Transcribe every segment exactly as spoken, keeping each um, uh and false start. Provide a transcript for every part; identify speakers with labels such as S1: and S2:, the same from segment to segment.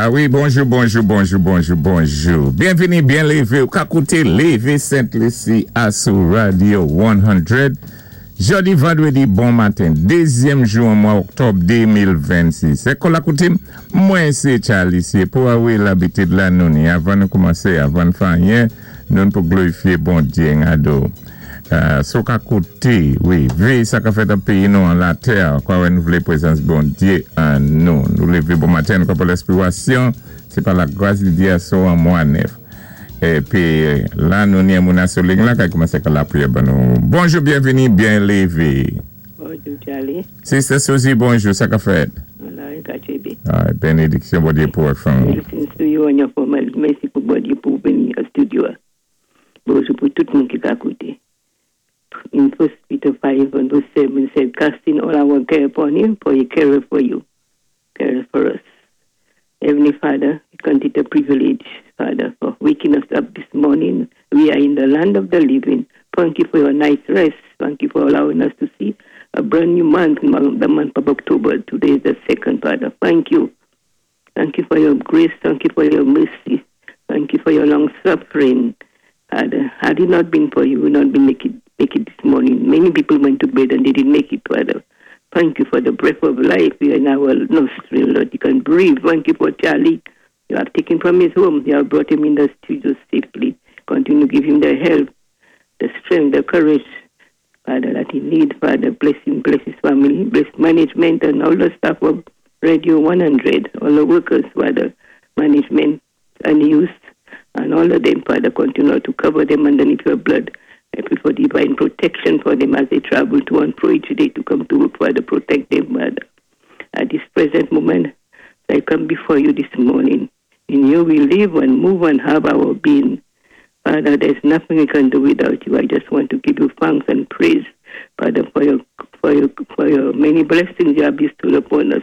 S1: A wi, bonjou, bonjou, bonjou, bonjou, bonjou. Byenvini, byen lévé. Ou ka kouté Lévé Sent-Lisi a sou Radio san. Jòdi, vandwédi, bon maten. Dézyèm jou an mwa òktòb de mil vennsis. É kon lakoutim, mwen sé Charlie, sé pou a wi labitid la nou ni. Avan nou koumansé, avan fè anyen, nou pou glorifyé Bondyé ado. Euh, sou ka kouté, wi, vé sa ka fèt an péyi nou an latè, kwa wè nou vlé pwézans Bondyé an nou. Nou lévé bon maten, nou ka pou lespirasyon, sé pa la gwas di Dyé asou an mwa nèf. Épi la nou ni moun sou liy la ka koumansé ka lapriyè ban nou. Bonjou, byenvini, byen lévé.
S2: Bonjou, Charlie.
S1: Sister Susie, bonjou, sa ka fèt?
S2: Wala, ka
S1: Ah, bénédiksyon Bondyé pou fanmi.
S2: Blessings to you and your family. Mèsi pou Bondyé pou vini nan studio. Bonjou pou tout moun ki ka kouté. In First Peter five and verse seven said, "Casting all our care upon him, for he careth for you, careth for us." Heavenly Father, we count it a privilege, Father, for waking us up this morning. We are in the land of the living. Thank you for your nice rest. Thank you for allowing us to see a brand new month, the month of October. Today is the second, Father. Thank you. Thank you for your grace. Thank you for your mercy. Thank you for your long suffering. Father, had it not been for you, we would not be make it, make it this morning. Many people went to bed and they didn't make it, Father. Thank you for the breath of life in our nostril, Lord. You can breathe. Thank you for Charlie. You have taken from his home. You have brought him in the studio safely. Continue to give him the help, the strength, the courage, Father, that he needs. Father, bless him, bless his family, bless management and all the staff of Radio one hundred, all the workers, Father, management and youth, and all of them, Father, continue to cover them underneath your blood. I pray for divine protection for them as they travel to and fro each day to come to work, Father. Protect them, Father. At this present moment, I come before you this morning. In you we live and move and have our being. Father, there's nothing we can do without you. I just want to give you thanks and praise, Father, for your for your for your many blessings you have bestowed upon us.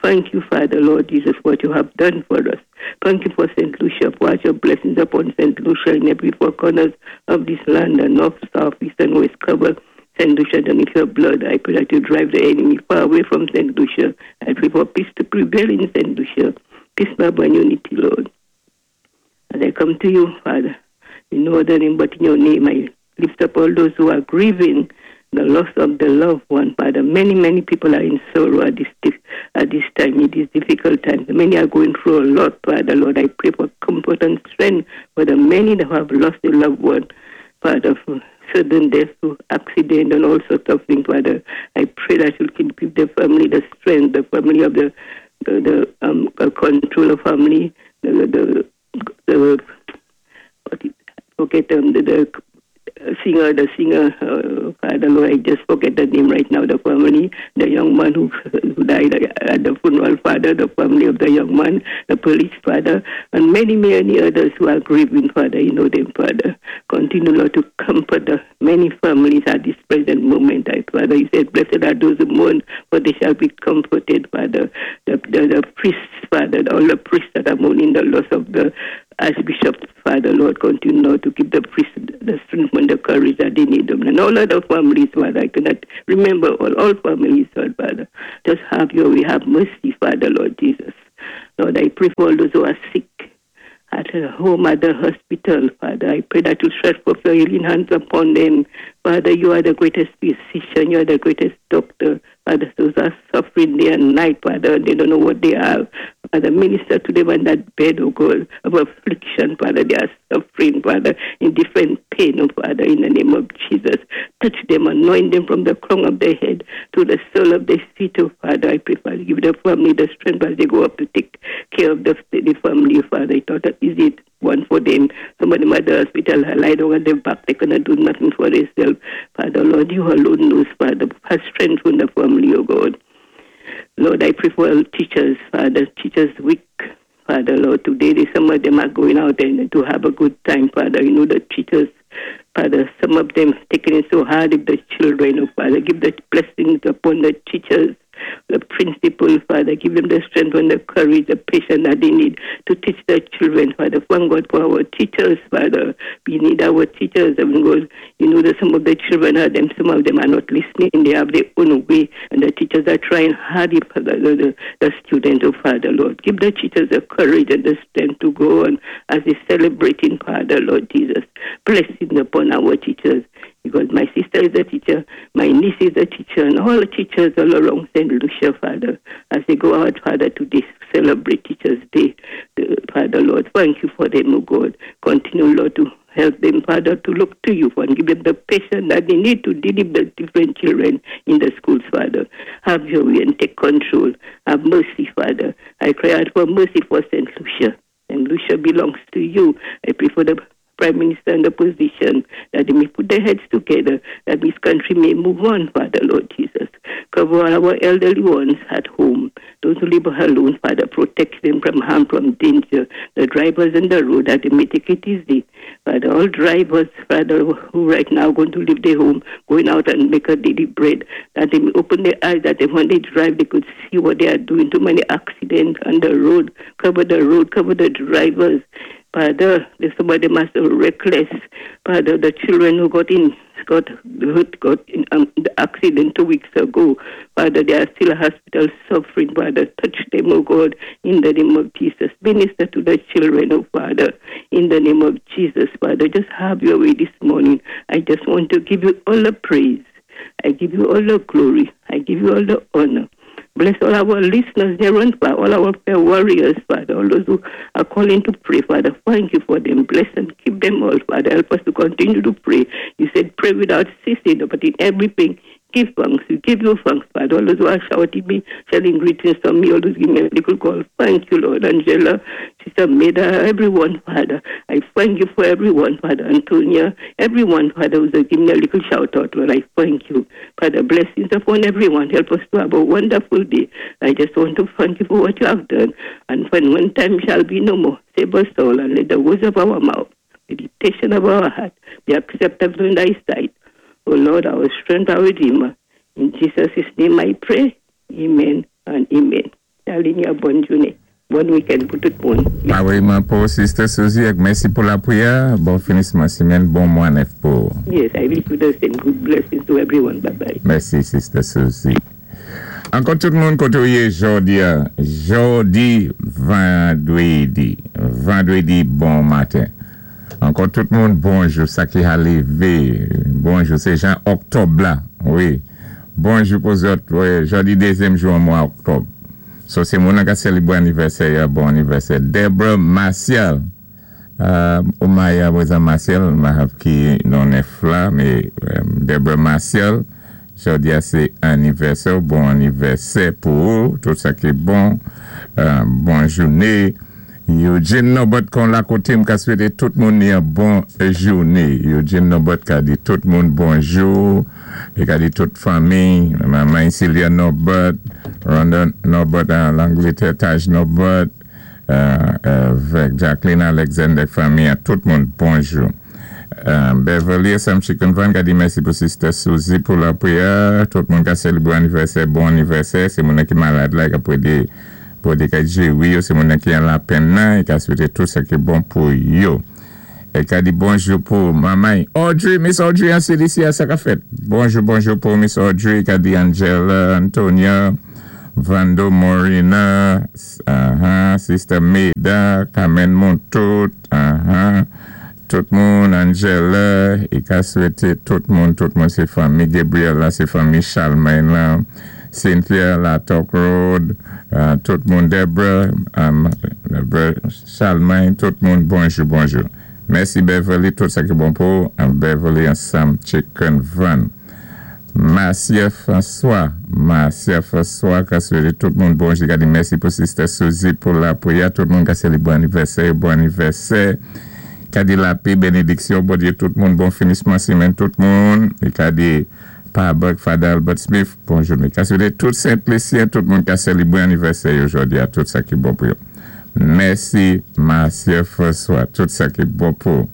S2: Thank you, Father, Lord Jesus, what you have done for us. Thank you for Saint Lucia. Pour your blessings upon Saint Lucia in every four corners of this land, the north, south, east, and west. Cover Saint Lucia beneath your blood. I pray that you drive the enemy far away from Saint Lucia. I pray for peace to prevail in Saint Lucia. Peace, love, and unity, Lord. As I come to you, Father, in no other name but in your name, I lift up all those who are grieving the loss of the loved one, Father. Many, many people are in sorrow at this, at this time, in these difficult times. Many are going through a lot, Father, Lord. I pray for comfort and strength for the many that have lost a loved one, Father, for sudden death, for accident, and all sorts of things, Father. I pray that you can give the family the strength, the family of the the, the um, controller family, the the, the, what it, forget um, the, the singer, the singer, uh, Father Lord, I just forget the name right now, the family, the young man who, who died at the funeral, Father, the family of the young man, the police, Father, and many, many others who are grieving, Father, you know them, Father. Continue, Lord, to comfort the many families at this present moment, I, Father. You said, "Blessed are those who mourn, for they shall be comforted," Father. The, the, the priests, Father, all the priests that are mourning the loss of the Archbishop, Father, Lord, continue, Lord, to give the priests the strength and the courage that they need them. And all other families, Father, I cannot remember all, all families, Lord, Father. Just have your way, have mercy, Father, Lord Jesus. Lord, I pray for all those who are sick at home, at the hospital, Father. I pray that you stretch forth your healing hands upon them. Father, you are the greatest physician, you are the greatest doctor. Father, those are suffering day and night, Father, they don't know what they have. Father, minister to them on that bed, oh God, of affliction, Father. They are suffering, Father, in different pain, oh Father, in the name of Jesus. Touch them, anoint them from the crown of their head to the sole of their feet, oh Father. I pray, Father, give the family the strength as they go up to take care of the, the family, Father. It's not easy one for them. Some of them at the hospital lie down on their back. They cannot do nothing for themselves. Father, Lord, you alone knows, Father. Have strength from the family, oh God. Lord, I pray for all teachers, Father. Teachers Week, Father, Lord. Today, they, some of them are going out and to have a good time, Father. You know, the teachers, Father, some of them taking it so hard with the children, oh Father. Give the blessings upon the teachers. the principal, Father. Give them the strength and the courage, the patience that they need to teach their children, Father. Thank God for our teachers, Father. We need our teachers. And God, you know that some of the children are them, some of them are not listening. They have their own way, and the teachers are trying hard for the, the, the students, oh Father, Lord. Give the teachers the courage and the strength to go on as they celebrating, Father, Lord Jesus. Blessing upon our teachers. Because my sister is a teacher, my niece is a teacher, and all the teachers all around Saint Lucia, Father, as they go out, Father, to this celebrate Teachers' Day, the, Father, Lord, thank you for them, oh God. Continue, Lord, to help them, Father, to look to you and give them the patience that they need to deal with the different children in the schools, Father. Have your way and take control. Have mercy, Father. I cry out for mercy for Saint Lucia. Saint Lucia belongs to you. I pray for the Prime Minister and the opposition, that they may put their heads together, that this country may move on, Father, Lord Jesus. Cover all our elderly ones at home, those who live alone, Father, protect them from harm, from danger. The drivers on the road, that they may take it easy. Father, all drivers, Father, who right now are going to leave their home, going out and make a daily bread, that they may open their eyes, that they, when they drive, they could see what they are doing. Too many accidents on the road. Cover the road, cover the drivers. Father, there's somebody must be reckless. Father, the children who got in, got hurt, got in um, the accident two weeks ago. Father, they are still in hospital suffering. Father, touch them, oh God, in the name of Jesus. Minister to the children, oh Father, in the name of Jesus, Father. Just have your way this morning. I just want to give you all the praise. I give you all the glory. I give you all the honor. Bless all our listeners here and far, all our prayer warriors, Father, all those who are calling to pray, Father. Thank you for them. Bless and keep them all, Father. Help us to continue to pray. You said pray without ceasing, but in everything, give thanks. We give you thanks, Father. All those who are shouting me, sending greetings from me, all those give me a little call. Thank you, Lord. Angela, Sister Meda, everyone, Father. I thank you for everyone, Father. Antonia, everyone, Father, who's giving me a little shout out, Lord. I thank you. Father, blessings upon everyone. Help us to have a wonderful day. I just want to thank you for what you have done. And when one time shall be no more, save us all and let the words of our mouth, meditation of our heart, be acceptable in thy sight. O Lord, our strength, our Redeemer. In Jesus' name I pray. Amen and amen. Darling, bonn jounin. Bon week-end pou tout moun.
S1: Pareilman pou Sister Suzy, mèsi pou lapriyè. Bon finisman simenn, bon mwa nèf pou.
S2: Yes, I wish you the same. Good blessings to everyone. Bye-bye.
S1: Mèsi, Sister Suzy. Ankò tout moun koté ou yé jòdi, jòdi vandwédi, vandwédi bon maten. Ankò tout moun bonjou, sa ki a lévé, bonjou, sé jan òktòb la, wi. Bonjou pou zòt, wi, jòdi dézyèm jou an mwa òktòb. So sé moun ka sélébwé anivèsè, bon anivèsè. Deborah Martial, euh, ou Maya Weza Martial, ma ki non nèf la, mé Deborah Martial, jòdi a sé anivèsè, bon anivèsè pou ou, tout sa ki bon, euh, bon jounin. Eugene Nobot kon la koté m ka swété tout moun yon bon jounin. Eugene Nobot ka di tout moun bonjou, é ka di tout fanmi, manman Celia Nobot, Rhonda Nobot an Langlétè, Taj Nobot, euh, avèk Jacqueline Alexander fanmi, tout moun bonjou. Euh, Beverly Sam Chicken Van ka di mèsi pou Sister Suzy pou lapriyè, tout moun ka sélébwé anivèsè, bon anivèsè, sé moun ki malad la, ka pwédé pou di ka jéwi yo, sé moun ki an lapenn nan, é ka swété tout sa ki bon pou yo. É ka di bonjou pou manman Audrey, Miss Audrey an C D C a sa ka fèt. Bonjou, bonjou pou Miss Audrey, ka di Angela, Antonia, Vando Morina, uh-huh, Sister Maida, Carmen Montout, uh-huh, tout moun, Angela, é ka swété tout moun, tout moun sé fanmi Gabriel la, sé fanmi Charlemagne la, Cynthia la Talk Road, uh, tout moun Deborah, um, Deborah Charlemagne, tout moun bonjou, bonjou. Mèsi Beverly, tout sa ki bon pou, and Beverly and Sam Chicken Van. Marcia François, Marcia François, ka swété tout moun bonjou, ka di mèsi pou Sister Suzy pou lapriyè, tout moun ka sélébwé anivèsè, bon anivèsè, ka di lapè, bénédiksyon, Bondyé tout moun, bon finisman simenn tout moun, é ka di Pa Buck, Father Albert Smith, bonjou. Ka swété tout Sent-Lisyen, tout moun ka sélébwé anivèsè jòdi a, tout sa ki bon pou yo. Mèsi, Marcia François, tout sa ki bon pou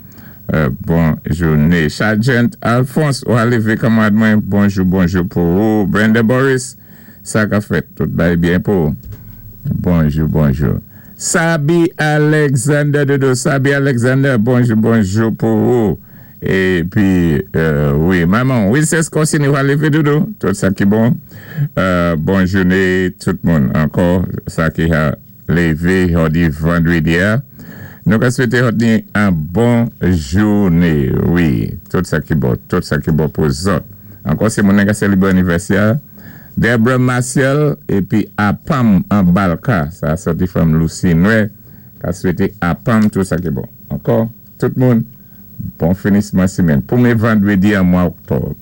S1: euh, bon jounin. Sergeant Alphonse, ou a lévé kanmwad mwen, bonjou, bonjou pou ou. Brenda Boris, Sa ka fèt, tout bay byen pou. Bonjou, bonjou. Sabi Alexander Dodo, Sabi Alexander, bonjou, bonjou pou ou. Épi, euh, wi, manman, Wilson kontiné a lévé Dodo, tout sa ki bon. Euh, bon jouné tout moun ankò, sa ki a lévé jòdi vandwédi. Nou ka swété yon bon jouné, wi, tout sa ki bon, tout sa ki bon pou zòt. Ankò, sé moun ki sélébré anivèsè. Deborah Martial épi Apam an Balka, sa sòti from Lucy Noé, ka swété Apam tout sa ki bon. Ankò, tout moun, bon finisman simèn. Pwémyé vandwédi an mwa oktòb.